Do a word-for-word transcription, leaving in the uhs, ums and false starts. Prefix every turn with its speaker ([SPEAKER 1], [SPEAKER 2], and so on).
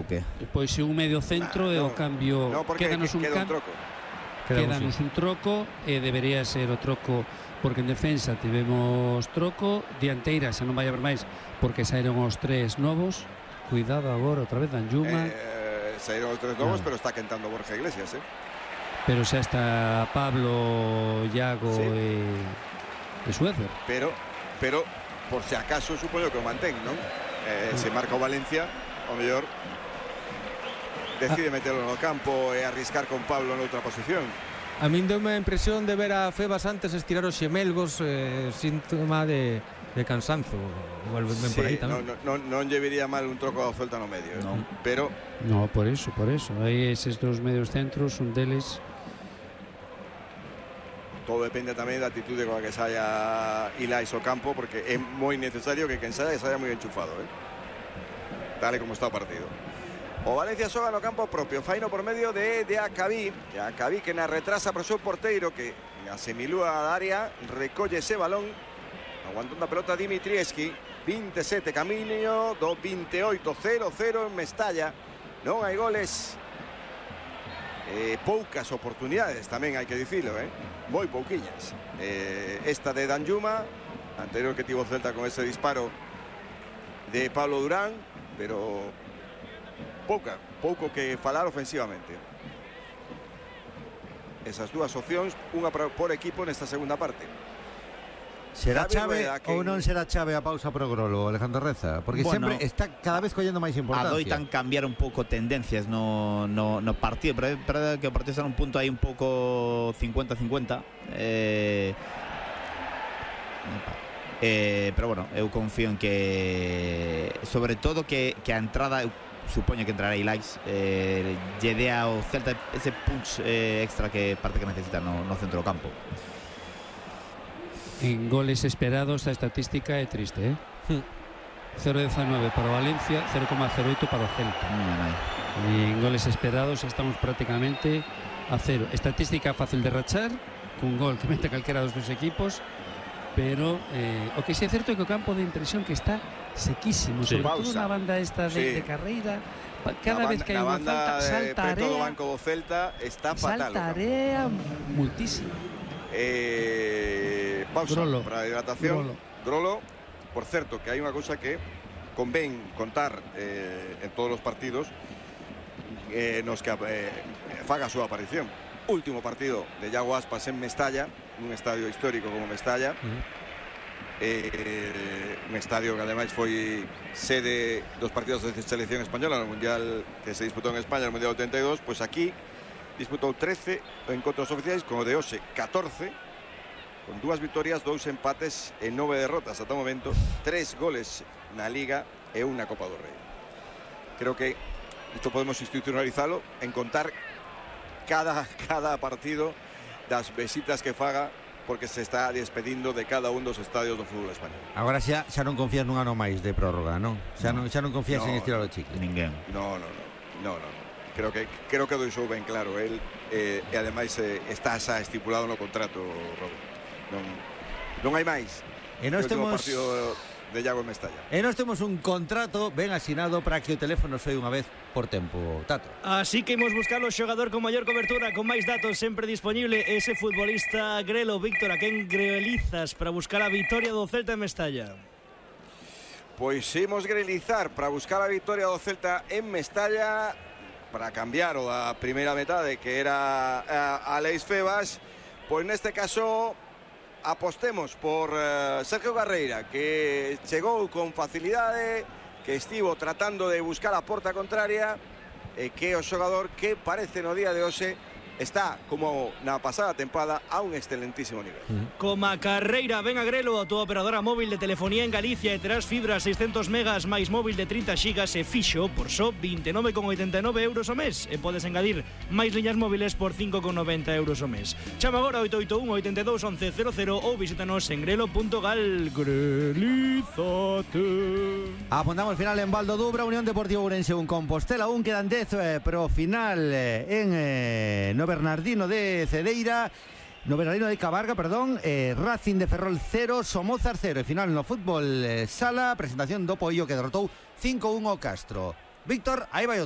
[SPEAKER 1] que?
[SPEAKER 2] Pois se un medio centro e
[SPEAKER 3] no,
[SPEAKER 2] o cambio
[SPEAKER 3] no, porque
[SPEAKER 2] quédanos un
[SPEAKER 3] queda un
[SPEAKER 2] cambio.
[SPEAKER 3] troco.
[SPEAKER 2] Quédanos un troco e debería ser o troco porque en defensa tivemos troco, dianteira xa non vai haber máis porque saíron os tres novos. Cuidado agora outra vez Danjuma.
[SPEAKER 3] Eh, saíron os tres novos,
[SPEAKER 2] no.
[SPEAKER 3] pero está quentando Borja Iglesias, eh.
[SPEAKER 2] Pero xa está Pablo, Iago
[SPEAKER 3] Sí.
[SPEAKER 2] e, e Suézer.
[SPEAKER 3] Pero, pero por si acaso supoño que o mantén, non? Eh,
[SPEAKER 2] Sí.
[SPEAKER 3] se marca o Valencia, o mellor decide meterlo no campo e arriscar con Pablo noutra posición.
[SPEAKER 4] A min deu a impresión de ver a Febas antes estirar os xemelgos, eh, síntoma de, de cansanzo. Igual ven
[SPEAKER 3] Sí,
[SPEAKER 4] por aí tamén.
[SPEAKER 3] non, non, non lle viría mal un troco ao Celta no medio, eh.
[SPEAKER 1] Non.
[SPEAKER 3] Pero
[SPEAKER 2] No, por eso, por eso. Aí eses dos medios centros, un deles.
[SPEAKER 3] todo depende tamén da atitude con a que saia Ilais ao campo, porque é moi necesario que quen saia saia moi enchufado, eh? Tal e como está o partido. O Valencia xoga no campo propio, faino por medio de, de Acabí, de Acabí que na retrasa pro seu porteiro, que na semilúa da área recolle ese balón, aguantando a pelota Dimitrieski, veintisiete camiño do veintiocho, cero cero en Mestalla, non hai goles, eh, poucas oportunidades tamén hai que dicilo, eh? moi pouquiñas. Eh, esta de Danjuma, anterior que tivo Celta con ese disparo de Pablo Durán, pero pouca, pouco que falar ofensivamente. Esas dúas opcións, unha por equipo nesta segunda parte.
[SPEAKER 5] Será
[SPEAKER 3] Xavi
[SPEAKER 5] chave
[SPEAKER 3] Rueda, que-
[SPEAKER 5] ou non será chave a pausa pro Grolo, Alejandro Reza? Porque
[SPEAKER 1] Bueno,
[SPEAKER 5] sempre está cada vez collendo máis importancia.
[SPEAKER 1] Adoitan cambiar un pouco tendencias no, no, no partido, pero é verdade que o partido está nun punto aí un pouco cincuenta cincuenta. Eh, eh, pero bueno, eu confío en que sobre todo que, que a entrada, eu supoño que entrará Ilais, eh, lle dé ao Celta ese punch eh, extra que parte que necesita no, no centro do campo.
[SPEAKER 2] En goles esperados a estatística é triste, eh? cero coma diecinueve para o Valencia, cero coma cero oito para o Celta. E en goles esperados estamos prácticamente a cero. Estatística fácil de rachar, cun gol que mete calquera dos dos equipos, pero eh, o que sí é certo é que o campo de impresión que está sequísimo,
[SPEAKER 3] Sí.
[SPEAKER 2] sobre todo
[SPEAKER 3] Pausa.
[SPEAKER 2] na banda esta de,
[SPEAKER 3] Sí.
[SPEAKER 2] de carreira. Cada
[SPEAKER 3] Na
[SPEAKER 2] vez
[SPEAKER 3] banda-
[SPEAKER 2] que hai
[SPEAKER 3] na
[SPEAKER 2] unha
[SPEAKER 3] banda
[SPEAKER 2] falta,
[SPEAKER 3] de
[SPEAKER 2] salta
[SPEAKER 3] preto do
[SPEAKER 2] area,
[SPEAKER 3] banco do Celta está fatal. o campo.
[SPEAKER 2] salta area muitísimo.
[SPEAKER 3] Eh, pausa
[SPEAKER 2] Grolo.
[SPEAKER 3] para a hidratación.
[SPEAKER 2] Grolo.
[SPEAKER 3] Grolo, por certo, que hai unha cousa que convén contar eh, en todos os partidos eh, nos que eh, faga a súa aparición. Último partido de Iago Aspas en Mestalla, nun estadio histórico como Mestalla.
[SPEAKER 4] Uh-huh.
[SPEAKER 3] eh, un estadio que ademais foi sede dos partidos de selección española no Mundial que se disputou en España, no Mundial ochenta e dos. Pois aquí disputou trece encontros oficiais, con o de hoxe catorce, con dúas vitorias, dous empates e nove derrotas ata o momento, tres goles na Liga e unha Copa do Rei. Creo que isto podemos institucionalizalo en contar cada, cada partido das visitas que faga, porque se está despedindo de cada un dos estadios do fútbol español.
[SPEAKER 5] Agora xa, xa non confías nun ano máis de prórroga, non? Xa non, xa non confías
[SPEAKER 3] No,
[SPEAKER 5] en estirar o chicle.
[SPEAKER 1] Ninguén.
[SPEAKER 3] No, no, no, no, no, no. Creo que creo que deixou ben claro el, eh, e ademais eh, está xa estipulado no contrato, Robo. Non, non hai máis.
[SPEAKER 5] E nós
[SPEAKER 3] O último
[SPEAKER 5] temos
[SPEAKER 3] partido de Iago en Mestalla.
[SPEAKER 5] E nós temos un contrato ben asinado para que o teléfono soe unha vez por tempo, Tato.
[SPEAKER 6] Así que imos buscar o xogador con maior cobertura, con máis datos sempre disponible, ese futbolista Grelo. Víctor, a quen grelizas para buscar a vitoria do Celta en Mestalla?
[SPEAKER 3] Pois imos grelizar para buscar a vitoria do Celta en Mestalla, para cambiar o da primeira metade, que era a Aleix Febas. Pois neste caso apostemos por uh, Sergio Carreira, que chegou con facilidade, que estivo tratando de buscar a porta contraria, e que o xogador que parece no día de hoxe está, como na pasada tempada, a un excelentísimo nivel.
[SPEAKER 6] Coma Carreira, ven a Grelo, a túa operadora móvil de telefonía en Galicia, e terás fibra seiscentos megas máis móvil de trinta xigas e fixo por só vinte e nove con oitenta e nove euros o mes, e podes engadir máis liñas móviles por cinco con noventa euros o mes. Chama agora oito oito un, oito dos, once cero cero ou visítanos en grelo punto gal. Grelízate.
[SPEAKER 5] Apuntamos final en Valdo Dubra, Unión Deportiva Ourense un, Compostela un, quedan dez eh, pro final eh, en eh, no Bernardino de Cedeira, no Bernardino de Cabarga, perdón, eh, Racing de Ferrol cero, Somozas cero, e final no fútbol eh, sala, presentación do Poillo que derrotou cinco uno o Castro. Víctor, aí vai outro.